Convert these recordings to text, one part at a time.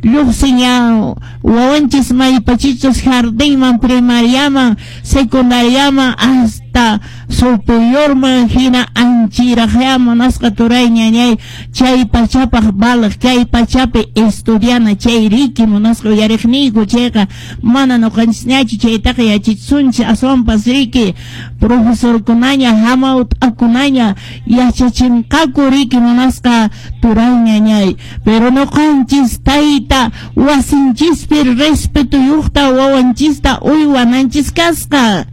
Lluqsin ya wawanchis maypachichus jardinman, primariaman, secundariaman, hasta superiorman hina anchiraqya, munasqa turay ñañay, chay pachapaq valeq, kay pachapi estudiana chay riki, munasqa uyariqniyku. Chayqa mana ñuqanchisñachu chaytaqa yachachisunchis, aswanpas riki profesorkunaña, hamawt'akunaña yachachinqaku riki, munasqa turay ñañay. Pero ñuqanchis tayta wasinchispi respetuyuqta wawanchista uywananchis kasqa,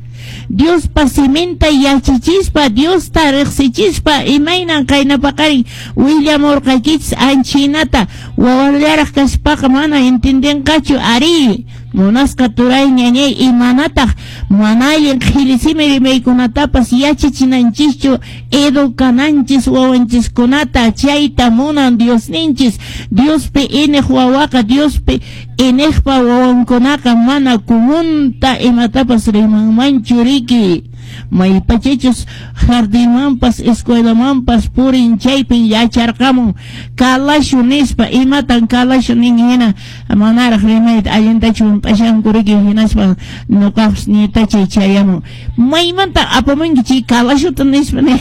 Diospa siminta yachachispa, Diosta riqsichispa, imaynan qayna paqarin willamurqaykichis anchinata. Wawallaraq kaspaqa mana entendinqachu ari, munasqa turay ñañay, imanataq mana allin qhilli simi rimaykunatapas yachachinanchischu, educananchis wawanchiskunata. Chayta munan Diosninchis. Diospi iniq wawaqa, Diospi iniqpa wawankunaqa mana comunta imatapas rimanmanchu riki. Maypachachus jardinmanpas escuelamanpas purin, chaypin yacharqamun kalashu nispa. Imatan kalashu nin hina manaraq rimayta allintachu hunt'ashanku riki. Hinaspa ñuqapas nietachay chayamun: "Maymanta apamunki chay kalashuta?" nispa. Ni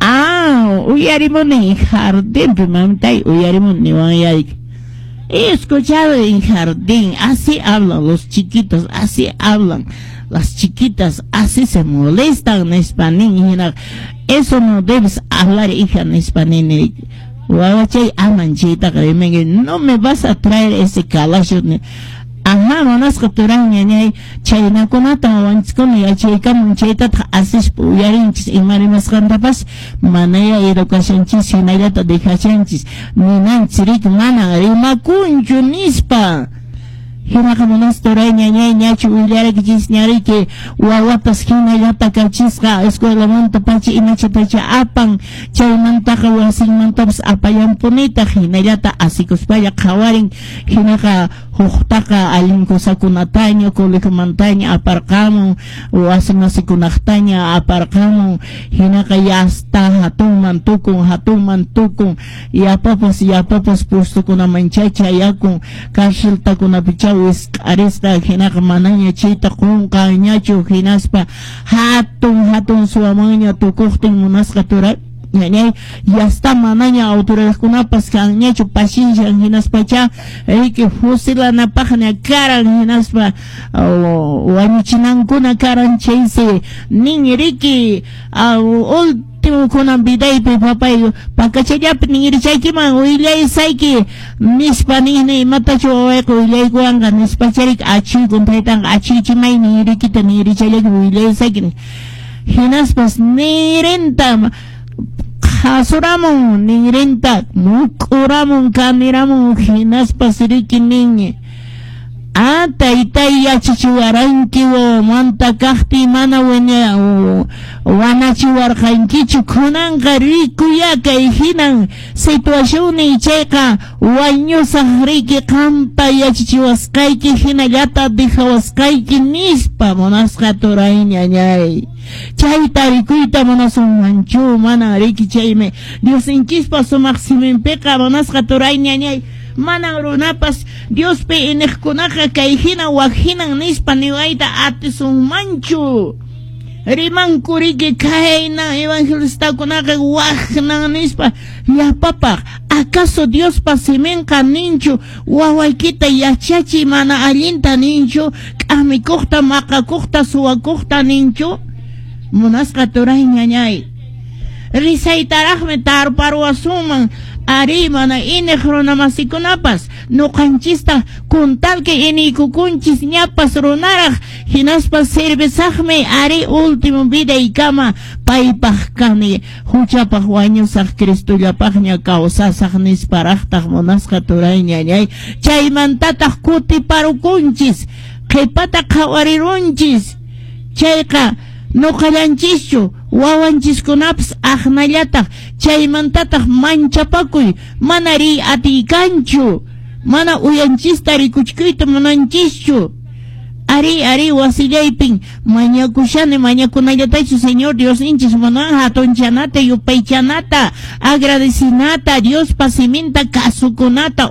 "Ah, uyarimuni jardinpi, mamitay, uyarimuni", niwan yayki. "He escuchado en jardín, así hablan los chiquitos, así hablan las chiquitas, así se molestan", nispa nin. Hina "Eso no debes hablar, hija", nispa nini. "Wawachay, aman chaytaqa rimanki, no me vas a traer ese kalasho". Ajá, munasqa turay ñañay, chaynakunata wawanchiskuna yachaykamun, chaytataq asispa uyarinchis ima rimasqantapas, manaya educacionchis hinallata dejashanchis, ninanchis riki mana rimakunchu nispa. Hinaqa munasqa turay ñañay, ñachu willaraykichis ñariki wawatas hinallata kachisqa escuelamanta pacha imachatacha apan, chaymantaqa wasinmantapas apallanpunitaq, hinallata asikuspalla qhawarin. Hinaqa huqtaqa allin cosakunataña colegiomantaña aparqamun, wasi masikunaqtaña aparqamun. Hinaqa yasta hatunman tukun, hatunman tukun, yapapas yapapas puestokunaman chayakun, carceltakunapicha wisq'arisqa. Hinaqa manaña chayta qunqanñachu. Hinaspa hatun hatun suwamanña tukuqtin, munasqa turay ñañay, yasta manaña autoridadkunapas kanñachu paciencia. Hinaspacha riki fusilanapaqña karan, hinaspa wañuchinankuna karan. Chaysi nin riki: "Último kunan vidaypi, papay, pakachallapi ninrichaykiman willaysayki", nispa nini. "Imatachu wawayqa willaykuwanqa?" nispa charik achiykun taytanqa. "Achiychimay ninrikita, ninrichallaki willaysayki". Hinaspas nirinta qhasuramun, ninrinta muk'uramun, kaniramun. Hinaspas riki nin: "Ah, taytay, yachachiwaranki wawamanta kaqtiy, mana wanachiwarqankichu. Kunanqa rikuya kay hinan situacionni, chayqa wañusaq riki, qampa yachachiwasqayki hinallata dejawasqayki", nispa. Munasqa turay ñañay, chayta rikuyta munasunmanchu? Mana riki. Chaymi Diosninchispa sumaq siminpiqa, munasqa turay ñañay, manan runapas Diospi iniqkunaqa kay hina wak hinan nispa niwayta atisunmanchu. Rimanku riki kayna evangelistakunaqa waknan nispa llapapaq. Acaso Diospa siminqa ninchu wawaykita yachachiy mana allinta ninchu, k'amikuqta, maqakuqta, suwakuqta ninchu? Munasqa turay ñañay, risaytaraqmi tarparuwasunman ari mana iniq runamasikunapas ñuqanchista, kuntalki iniykukunchis ñapas runaraq. Hinaspa servisaqmi ari último vidaykama, paypaq kani, huchapaq wañusaq, Cristollapaqña kawsasaq nisparaqtaq. Munasqa turay ñañay, chaymantataq kutiparukunchis, qhipata qhawarirunchis. Chayqa ñuqallanchischu, wawanchiskunapas aqnallataq. Chaymantataq manchapakuy, mana riy atiykanchu, mana uyanchista rikuchkuyta munanchischu. Ari, ari, wasillaypin mañakushani, mañakunallatachu Señor Diosninchis munan? Hatunchanata, yupaychanata, agradecinata, Diospa siminta kasukunata.